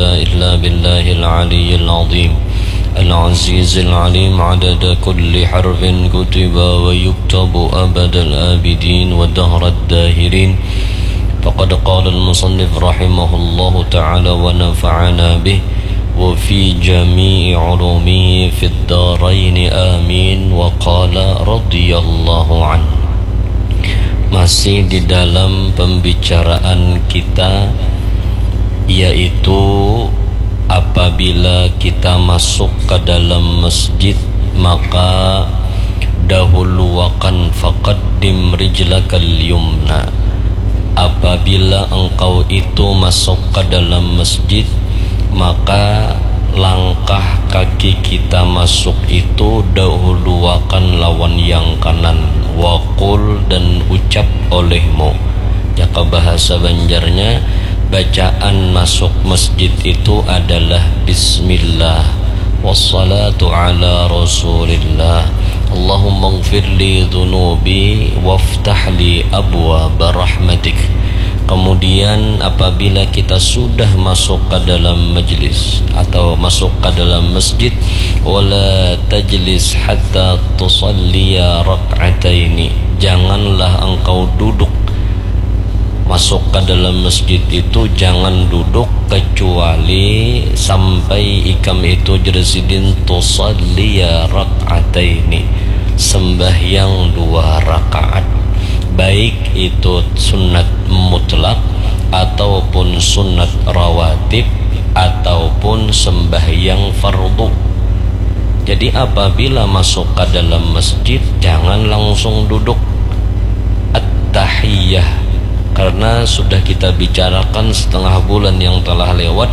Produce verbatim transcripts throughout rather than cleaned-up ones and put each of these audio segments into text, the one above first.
إلا بالله العلي العظيم العزيز العليم عدد كل حرف كتب ويكتب أبد الآبدين ودهر الداهرين. فقد قال المصنف رحمه الله تعالى ونفعنا به وفي جميع علومه في الدارين آمين. وقال رضي الله عنه. Masih di dalam pembicaraan kita, yaitu apabila kita masuk ke dalam masjid, maka dahuluakan, faqaddim rijlakal yumna. Apabila engkau itu masuk ke dalam masjid, maka langkah kaki kita masuk itu dahuluakan lawan yang kanan. Waqul, dan ucap olehmu. Jaka bahasa Banjarnya, bacaan masuk masjid itu adalah bismillah. Wassalatu ala rasulillah. Allahumma gfirli dhunubi waftahli abwa barahmatik. Kemudian apabila kita sudah masuk ke dalam majlis atau masuk ke dalam masjid, wala tajlis hatta tusalliya rak'ataini. Janganlah engkau duduk. Masuk ke dalam masjid itu jangan duduk kecuali sampai ikam itu, jer sidin, tusalliya rak'ataini, sembahyang dua rakaat, baik itu sunat mutlak ataupun sunat rawatib ataupun sembahyang fardu. Jadi apabila masuk ke dalam masjid, jangan langsung duduk. At-tahiyah. Karena sudah kita bicarakan setengah bulan yang telah lewat,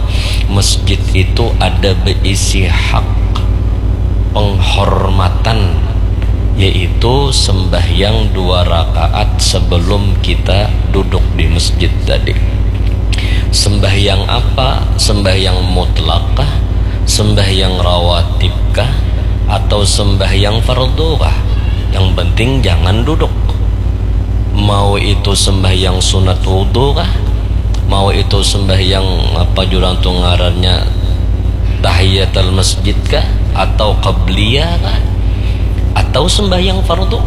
masjid itu ada berisi hak penghormatan, yaitu sembahyang dua rakaat sebelum kita duduk di masjid tadi. Sembahyang apa? Sembahyang mutlak kah? Sembahyang rawatib kah? Atau sembahyang fardu kah? Yang penting jangan duduk. Mau itu sembahyang sunat wudhu kah? Mau itu sembahyang apa jurang tu ngarannya, tahiyatul masjid kah? Atau qabliyah kah? Atau sembahyang fardu?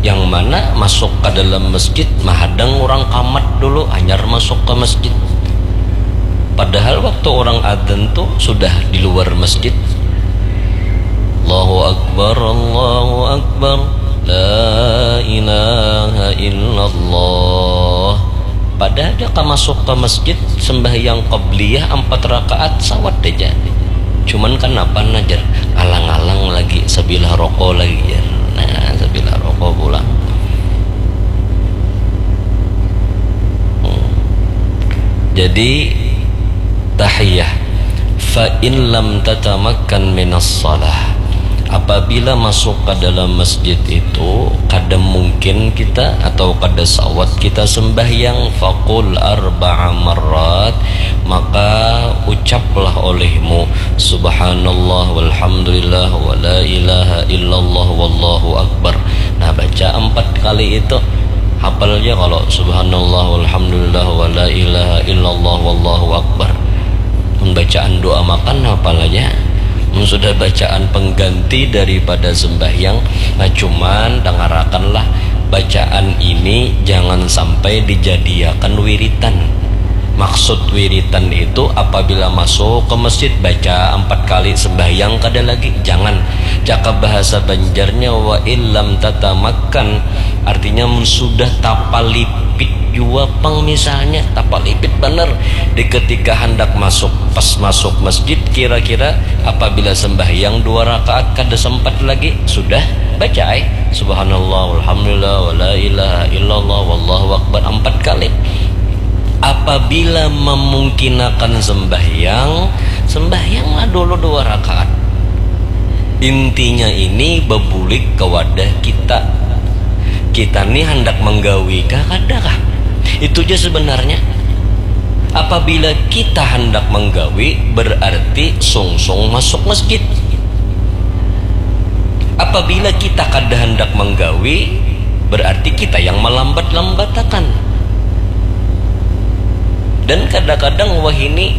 Yang mana masuk ke dalam masjid mahadang orang kamat dulu, hanyar masuk ke masjid. Padahal waktu orang adzan tu sudah di luar masjid. Allahu Akbar, Allahu Akbar, la ilaha illallah. Padahal dia ka masuk ke masjid, sembahyang qabliyah empat rakaat, sawat aja. Cuman kan apa, nah, jar, ngalang-ngalang lagi, sabilah rokok lagi, jar. Nah, sabilah rokok pulang. Hmm. Jadi, tahiyah. Fa in lam tatamakkan minas salah. Apabila masuk ke dalam masjid itu, kada mungkin kita atau kada sawat kita sembahyang, faqul arba'a marrat, maka ucaplah olehmu, subhanallah walhamdulillah wa la ilaha illallah wallahu akbar. Nah, baca empat kali itu. Hafal aja kalau subhanallah walhamdulillah wa la ilaha illallah wallahu akbar. Mun bacaan doa makan hafal aja. Mun sudah bacaan pengganti daripada sembahyang, nah, cuman dangarakanlah, bacaan ini jangan sampai dijadiakan wiritan. Maksud wiritan itu apabila masuk ke masjid baca empat kali sembahyang kada lagi, jangan. Cakap bahasa Banjarnya, wa illam tatamakkan, artinya mun sudah tapalipit jua pang, misalnya tapalipit banar di ketika handak masuk, pas masuk masjid, kira-kira apabila sembahyang dua rakaat kada sempat lagi, sudah baca ai subhanallah walhamdulillah wa la ilaha illallah wallahu akbar empat kali. Apabila memungkinakan sembahyang, sembahyanglah dulu dua rakaat. Intinya ini bebulik ke wadah kita. Kita ni handak menggawi kah, kada kah? Itu aja sebenarnya. Apabila kita handak menggawi, berarti sungsung masuk masjid. Apabila kita kada handak menggawi, berarti kita yang melambat-lambatakan. Dan kadang-kadang wahini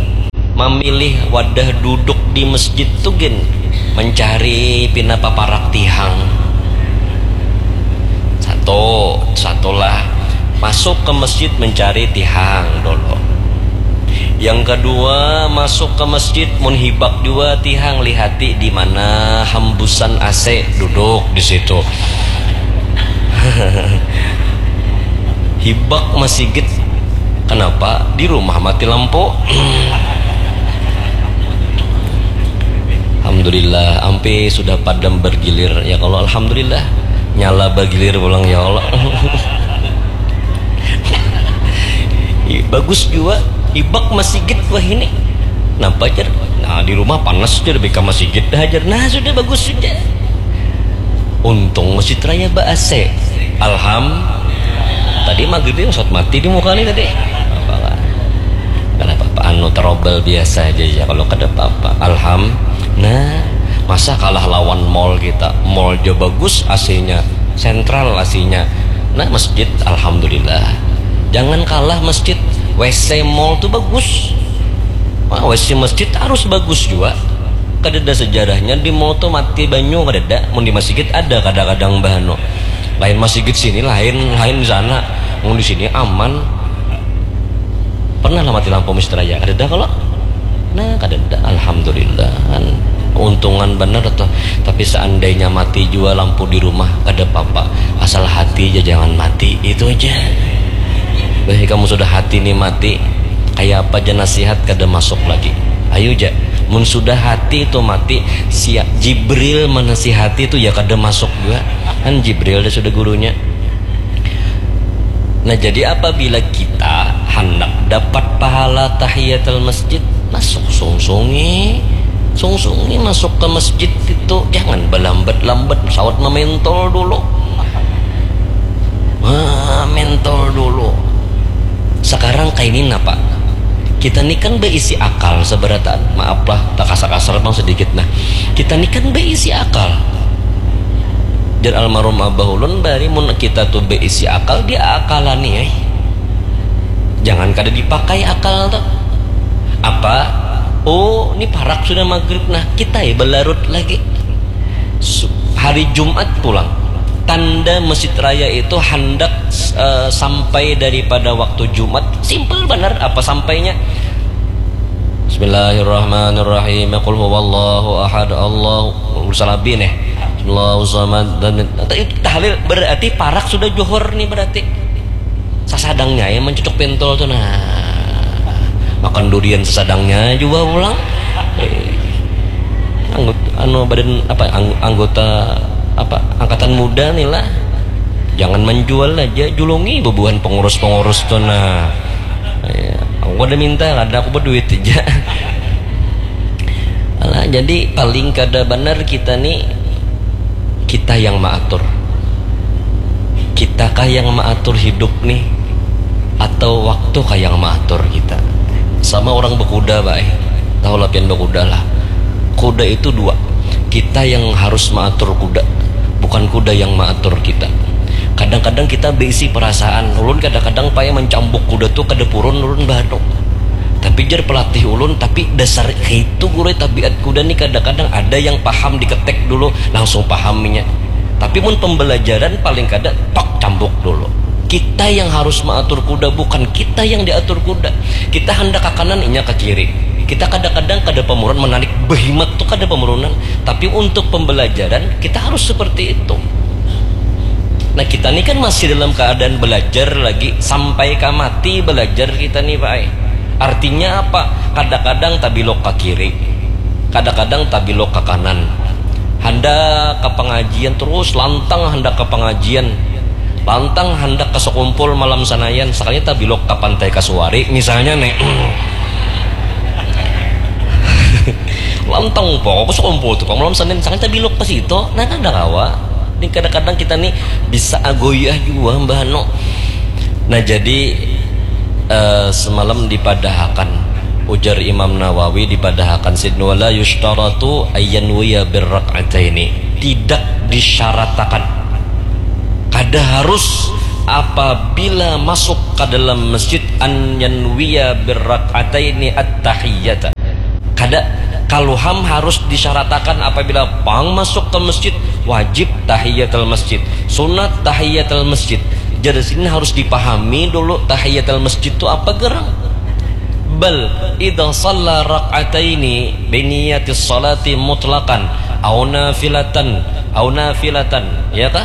Mamilih wadah duduk di masjid tu gin mencari pina paparak tihang. Satu, satulah masuk ke masjid mencari tihang dulu. Yang kedua, masuk ke masjid mun hibak jua tihang, lihati di mana hambusan A C, duduk di situ. Hibak masigit. Kenapa? Di rumah mati lampu. Alhamdulillah, ampe sudah padam bergilir. Ya Allah, alhamdulillah. Nyala bergilir pulang, ya Allah. Ih, bagus jua. Hibak masigit wahini. Napa, jar? Nah, di rumah panas, jar, bika masigit dah, jar. Nah, sudah, bagus sudah. Untung Masjid Raya ba A C. Alham. Tadi maghrib ni saat mati di muka ni tadi. Apa lah? Kada apa-apa, anu, trouble biasa aja ya, kalau kada apa-apa. Alham. Nah, masa kalah lawan mall kita? Mall jo bagus A C-nya, sentral A C-nya. Nah, masjid, alhamdulillah. Jangan kalah masjid, W C mall tu bagus. Wah, W C masjid harus bagus jua. Kadada sejarahnya di mall tu mati banyu, kadada. Mun di masigit ada kadang-kadang, bah, anu. Lain masigit sini, lain, lain di sana. Mun di sini aman. Pernah lah mati lampu Masjid Raya? Kadada kalo? Nah, kadada. Alhamdulillah. Keuntungan banar tuh. Tapi seandainya mati jua lampu di rumah, kada apa-apa. Asal hati ja jangan mati. Itu aja. Bah, kamu sudah hati ni mati, kaya apa ja nasihat kada masuk lagi. Ayu ja. Mun sudah hati tu mati, sia-, Jibril manasihati tu ya kada masuk jua. Kan Jibril dah sudah gurunya. Nah, jadi apabila kita handak dapat pahala tahiyatul masjid, masuk sungsungi. Sungsungi masuk ke masjid itu, jangan balambat-lambat, sawat mamentol dulu. Ah, mentol dulu. Sekarang kaini napa? Kita ni kan beisi akal seberataan. Maaf lah, tak kasar-kasar bang sedikit. Nah, kita ni kan beisi akal. Jar almarhum abah ulun, bari mun kita tu beisi akal, diakalani, eh. Jangan kada dipakai akal tu. Apa? Oh, ni parak sudah maghrib. Nah, kita ya belarut lagi. Su-, hari Jumat pulang. Tanda Masjid Raya itu handak, eh, sampai daripada waktu Jumat. Simple banar apa sampainya. Bismillahirrahmanirrahim. Qul huwallahu ahad. Allahu salabi nih. Allahu samad. Dan tahlil berarti parak sudah johor nih berarti. Sasadangnya ya mencucuk pentol tuh, nah. Makan durian sasadangnya juga pulang. Eh, anggot-, anu, badan apa, ang-, anggota apa, angkatan muda nih lah. Jangan menjual aja, julungi bebuhan pengurus-pengurus tuh, nah. Ya, aku ada minta, ada aku berduit aja. Alah, jadi paling kada benar kita nih, kita yang mengatur. Kita kah yang mengatur hidup nih, atau waktu kah yang mengatur kita? Sama orang berkuda, Pak, eh. Tahu lah pian berkuda lah. Kuda itu dua. Kita yang harus mengatur kuda, bukan kuda yang mengatur kita. Kadang-kadang kita beisi perasaan. Ulun kadang-kadang payah mencambuk kuda tuh kada purun ulun, bah, anu. Tapi jar pelatih ulun, tapi dasar itu guru, tabiat kuda nih kadang-kadang ada yang paham, diketek dulu langsung pahaminya. Tapi mun pembelajaran paling kada tok cambuk dulu. Kita yang harus mengatur kuda, bukan kita yang diatur kuda. Kita hendak ke kanan, inya ke kiri. Kita kadang-kadang kada pamurunan, menarik behimat tuh kada pamurunan. Tapi untuk pembelajaran kita harus seperti itu. Nah, kita ini kan masih dalam keadaan belajar lagi, sampai ka mati belajar kita nih, Pak. Artinya apa? Kadang-kadang tabilok ke kiri, kadang-kadang tabilok ke kanan. Handak ke pengajian terus, lantang handak ke pengajian, lantang handak ke sekumpul malam sanayan, sekalinya tabilok ke Pantai Kasuari misalnya nih. Lantang pokok sekumpul tuh, malam Senin, sekalinya tabilok ke situ. Nah, kada kawa. Ini kadang-kadang kita nih bisa agoyah jua, Mbah, anu. Nah, jadi, eh, semalam dipadahakan, ujar Imam Nawawi, dipadahakan sidin, "Wala yushtaratu ayyanwiya birrak'ataini." Tidak disyaratakan, kada harus apabila masuk ke dalam masjid an yanwiya birrak'ataini at-tahiyyata. Ada, kalu ham harus disyaratakan apabila pang masuk ke masjid, wajib tahiyatul masjid, sunat tahiyatul masjid. Jadi sini harus dipahami dulu tahiyatul masjid tu apa gerang. Bal idza shalla rak'ataini biniyatis salati mutlaqan au nafilatan au nafilatan, ya kah?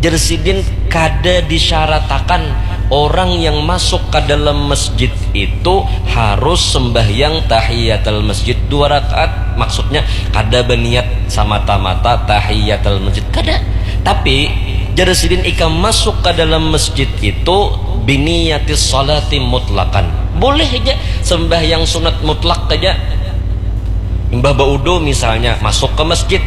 Jer sidin kada disyaratakan orang yang masuk ke dalam masjid itu harus sembahyang tahiyatul masjid dua rakaat. Maksudnya kada berniat semata-mata tahiyatul masjid, kada. Tapi jer sidin ikam masuk ke dalam masjid itu biniyatis salati mutlakan. Boleh aja sembahyang sunat mutlak aja. Imbah baudu misalnya masuk ke masjid,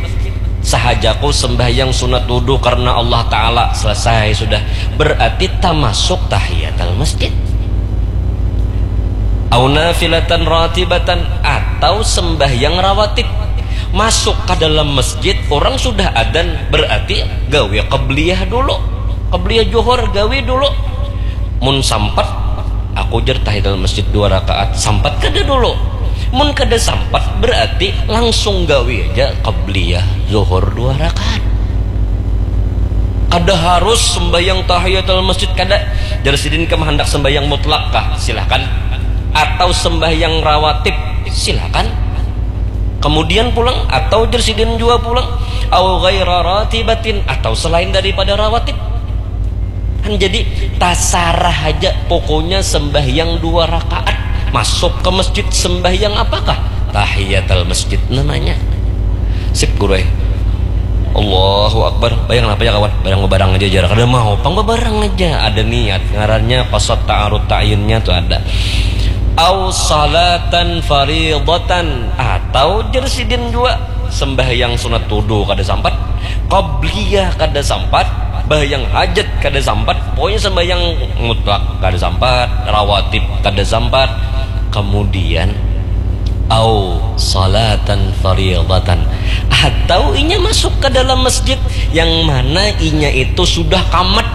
sahajaku sembahyang sunat wudu karena Allah Ta'ala, selesai sudah. Berarti tamasuk tahiyatul masjid. Au nafilatan ratibatan, atau sembahyang rawatib. Masuk ke dalam masjid, orang sudah adan, berarti gawe qabliyah dulu. Qabliyah johor gawe dulu. Mun sampat, aku jer tahiyatul masjid dua rakaat. Sampat kada dulu? Mun kada sampat, berarti langsung gawi aja qabliyah zuhur dua rakaat. Kada harus sembahyang tahiyatul masjid, kada. Jar sidin, kam handak sembahyang mutlak kah? Silahkan. Atau sembahyang rawatib? Silahkan. Kemudian pulang, atau jar sidin jua pulang, au ghaira ratibatin, atau selain daripada rawatib. Kan jadi tasarah aja, pokoknya sembahyang dua rakaat. Masuk ke masjid, sembahyang apakah? Tahiyatul masjid namanya. Sip, guru eh. Allahu Akbar. Bayang apa ya, kawan? Bayang bebarang aja, jarak ada mau pang bebarang aja. Ada niat, ngarannya qasad ta'arud ta'yinnya tuh ada. Au salatan faridatan, atau jer sidin jua sembahyang sunat wudu kada sampat, qabliyah kada sampat, bahayang hajat kada sampat, pokoknya sembahyang mutlak kada sampat, rawatib kada sampat. Kemudian, au salatan faridatan, atau inya masuk ke dalam masjid yang mana inya itu sudah kamat.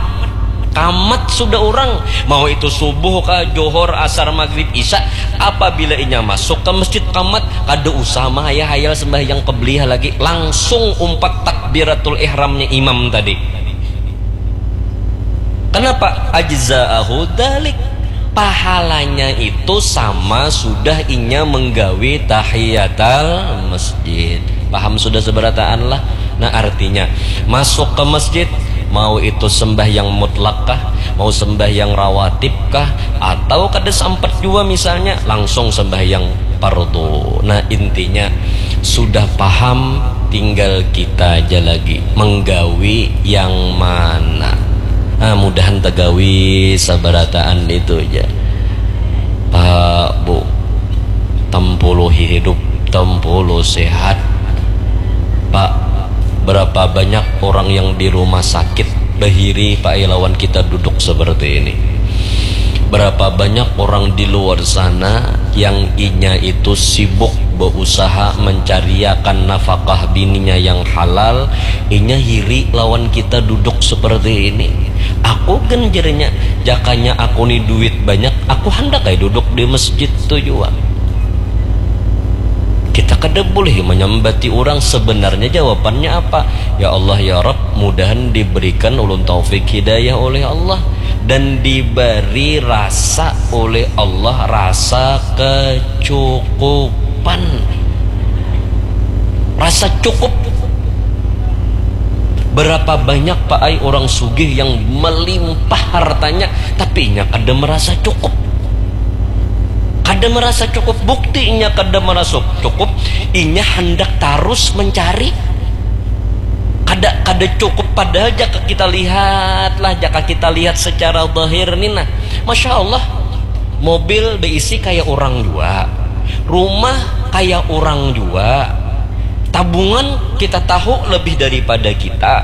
Kamat sudah orang, mau itu subuh kah, johor, asar, maghrib, isya, apabila inya masuk ke masjid kamat, kada usah mahayal-hayal sembahyang qabliyah lagi, langsung umpat takbiratul ihramnya imam tadi. Kenapa? Ajza'ahu dalik. Pahalanya itu sama sudah inya menggawi tahiyatal masjid. Paham sudah seberataan lah? Nah, artinya, masuk ke masjid, mau itu sembahyang mutlak kah, mau sembahyang rawatib kah, atau kada sampat jua misalnya, langsung sembahyang pardu. Nah, intinya sudah paham, tinggal kita aja lagi menggawi yang mana. Ah, mudahan tegawi sabarataan itu aja. Pak, Bu, tempuluhi hidup, tempulu sehat. Pak, berapa banyak orang yang di rumah sakit bahiri, Pak, lawan kita duduk seperti ini. Berapa banyak orang di luar sana yang inya itu sibuk berusaha mencariakan nafkah bininya yang halal, inya hiri lawan kita duduk seperti ini. Aku genjernya, jakanya aku ni duit banyak, aku handak ai duduk di masjid tu jua. Kita kada boleh menyambati orang. Sebenarnya jawabannya apa? Ya Allah, ya Rabb, mudahan diberikan ulun taufik hidayah oleh Allah dan diberi rasa oleh Allah, rasa kecukupan. Rasa cukup. Berapa banyak, Pak ai, orang sugih yang melimpah hartanya, tapi inya kada merasa cukup. Kada merasa cukup. Bukti inya kada merasa cukup, inya hendak tarus mencari. Kada, kada cukup, padahal jaka kita lihat lah, jaka kita lihat secara zahir ni nah, masya Allah, mobil beisi kaya orang jua, rumah kaya orang jua, tabungan kita tahu lebih daripada kita,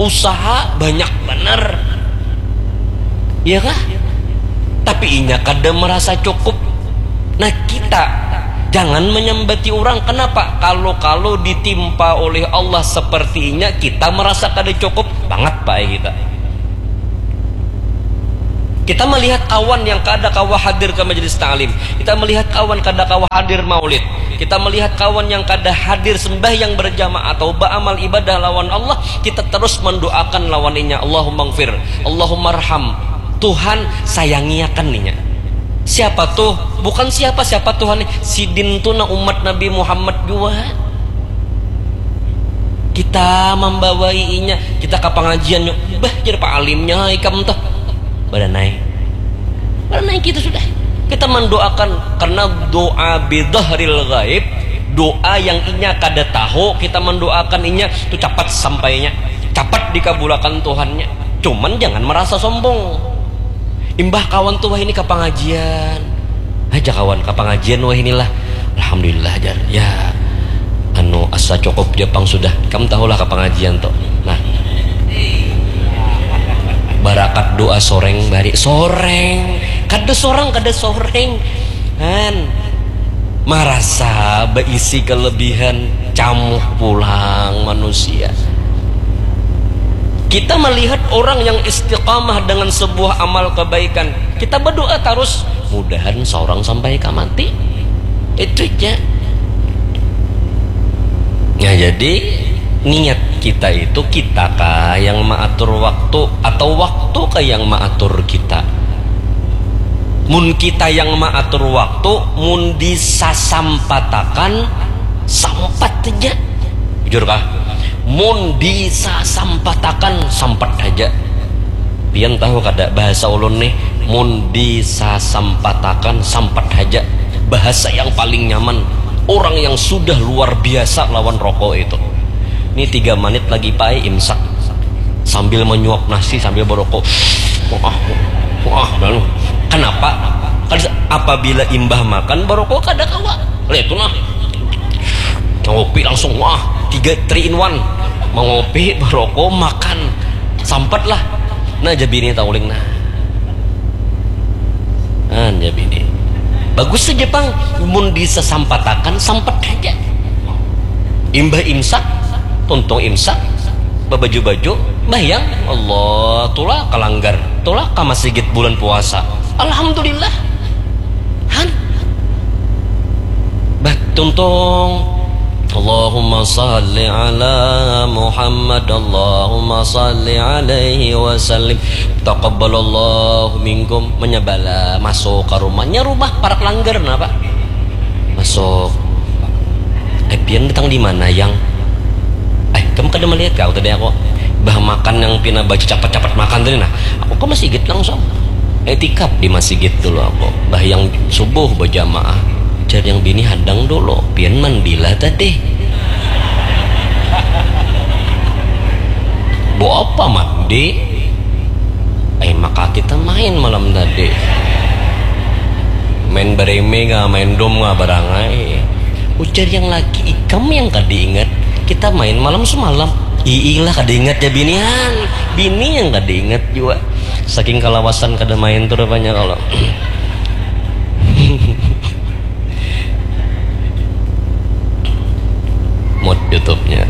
usaha banyak benar, iya kah? Tapi inya kada merasa cukup. Nah, kita jangan menyambati orang. Kenapa? Kalau-kalau ditimpa oleh Allah seperti inya, kita merasa kada cukup banget, Pak, kita. Kita melihat kawan yang kada kawa hadir ke majelis ta'lim. Kita melihat kawan kada kawa hadir maulid. Kita melihat kawan yang kada hadir sembahyang berjamaah atau beramal ibadah lawan Allah, kita terus mendoakan lawan inya, Allahumma gfir, Allahumma arham. Tuhan, sayangi akan inya. Siapa tuh? Bukan siapa-siapa Tuhan nih. Sidin tuh nah umat Nabi Muhammad jua. Kita mambawai inya, kita ka pangajian, bah, jar Pak Alimnya ikam tuh. Badanai. Badanai kita sudah. Kita mendoakan, karena doa bidhahril ghaib, doa yang inya kada tahu, kita mendoakan inya tu capat sampainya, capat dikabulakan Tuhannya. Cuman jangan merasa sombong. Imbah kawan tuh wah ini ka pangajian. Aja kawan ka pangajian wah inilah. Alhamdulillah, jar. Ya, anu, asa cukup ja pang sudah. Kamu tahulah ka pangajian tuh. Nah. Barakat doa soreng bari. Soreng. Kada sorang, kada soreng. Han. Marasa baisi kelebihan, camuh pulang manusia. Kita melihat orang yang istiqamah dengan sebuah amal kebaikan, kita berdoa terus, mudahan seorang sampai ke mati. Itu aja. Nah, jadi niat kita itu, kita kah yang mengatur waktu atau waktu kah yang mengatur kita? Mun kita yang mengatur waktu, mun disasampatakan, sampat aja. Jujur kah? Mun disasampatakan, sampat aja. Pian tahu kada bahasa ulun nih? Mun disasampatakan, sampat aja. Bahasa yang paling nyaman. Orang yang sudah luar biasa lawan rokok itu. Ini tiga menit lagi pai imsak. Sambil menyuap nasi, sambil berokok. Wah, wah, lalu. Kenapa? Kan apabila imbah makan, berokok kada kawa. Lihat tuh nah. Ngopi langsung, wah, tiga three in one. Mengopi, berokok, makan. Sampat lah. Nah, jadi ini tauling nah. Nah, jadi ini. Bagus saja pang. Mun disasampatakan, sampat aja. Imbah imsak, tuntung imsak, babaju-baju, bayang, Allah, tulak ka langgar, tulak ka masigit bulan puasa. Alhamdulillah. Han. Bah, tuntung. Allahumma salli ala Muhammad, Allahumma salli alaihi wasallim. Taqabbalallahu minkum. Menyabala masuk ke rumahnya, rumah parak langgar napa? Masuk. Eh, pian datang di mana, Yang? Eh, kamu kada melihat kau tadi aku? Bah, makan yang pina baca capat-capat makan tadi nah. Aku ke masjid langsung. Etikap di masjid dulu aku. Bah, yang subuh berjamaah. Jar yang bini hadang dulu. Pian mandilah tadi. Bu apa mandi? Eh, maka kita main malam tadi. Main bereme kah, main dom kah, barangai. Ujar yang laki, ikam yang kada ingat. Kita main malam semalam. Iilah kada ingat ya binian. Bini yang kada ingat juga. Saking kalawasan kada main tuh rupanya kalau. Mut YouTube-nya.